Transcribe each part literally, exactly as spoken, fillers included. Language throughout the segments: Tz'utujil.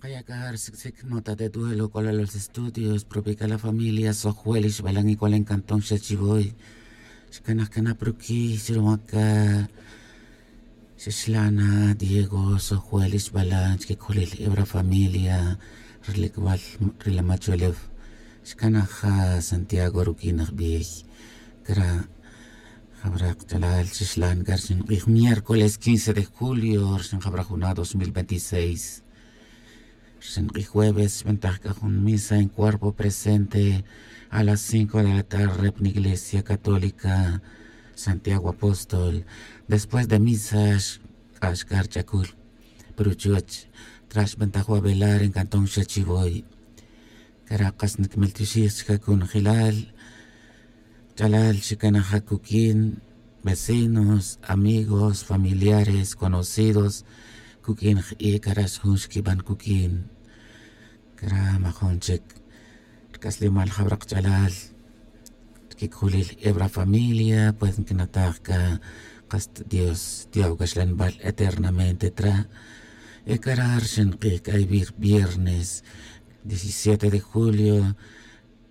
Kaya' c'a ri sic'sic nota de duelo c'o la los estudios propio c'a la familia sojwel ixbalan y c'o la encantón xa chivoy. Xcanaj cana pruquiy xrumac xixlana diego sojwel ixbalan chiquic'ulil ebra familia. Ri licbal ri la machuelef xcanaj santiago ruquin ajbiy. Cra' jabra kach'alal xixlan c'a rixin k'ij miércoles quince de julio rixin jabra juna' dos mil veintiséis. Rixin k'ij jueves xbantaj c'a jun misa en cuerpo presente a las cinco de la tarde pa iglesia católica santiago apóstol. Después de misa xk'ax c'a ri ch'acul pa ruchuch. Tra' xbantaj wa velar en cantón xa chivoy. C'a ra' kas niquimiltioxij chica conjelal. Ch'alal xicanaj acuquin vecinos, amigos, familiares, conocidos cuq'uin j'i' c'a ra' xjun xquiban cuq'uin. C'a ra' majun chic ri c'aslemal jawra kach'alal ri quic'ulil eb ra familia pues nquinataj c'a kas ta dios tiya' uc'axlanbal eternamente tra'. Y c'a ra' ri xink'ij c'a ivir viernes diecisiete de julio.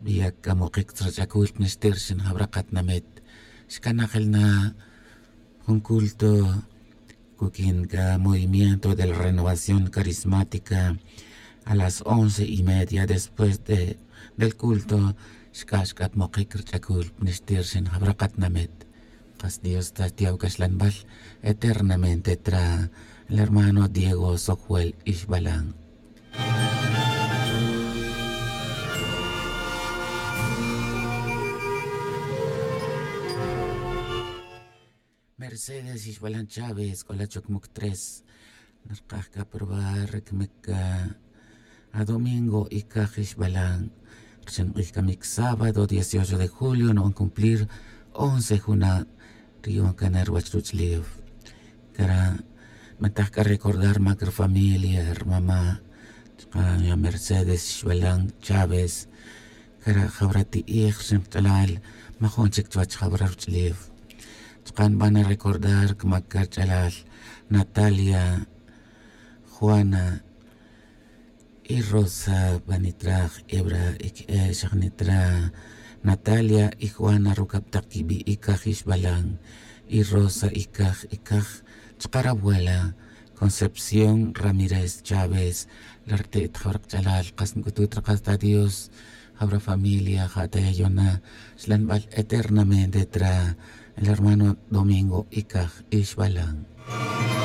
Viyac c'a mokic tzra ch'acul pa nixtir xin jawra katinamit. Xcanajel na jun culto cuq'uin c'a movimiento de la renovación carismática. A las once y media después de del culto xc'ax c'a ta mokic ri ch'acul pa nixtir xin jawra katinamit. Kas dios ta tiya' uc'axlanbal eternamente tra el hermano diego sojuel ixbalan. Mercedes ixbalan chaves c'o la chocmuc tres. Narkaj c'a probar ri cmic c'a adomingo y caj ixbalan. Ri xink'ij c'a mic sábado dieciocho de julio nuban cumplir once juna' ri yuban cana ruwech ruch'ulef. C'a ra' nbantaj c'a recordar mac ri familia ri mama' chuka' ya mercedes xbalan chaves. C'a ra' jawra ti'ij ri xinkach'alal majun chic chuwech jawra ruch'ulef. Chuka' nbana recordar c'a mac c'a rich'alal natalia, juana, y rosa pa nitra' jebra' y que'e' xaj nitra' natalia y juana rucab tak quibi' y caj ixbalan. Y rosa y caj y caj chuka' rabuela concepción ramírez chaves. La rite' ta jawra kach'alal kas nc'utut ri kas ta dios. Jawra familia ja' ta yayona xlanbal eternamente tra el hermano domingo y caj ixbalan.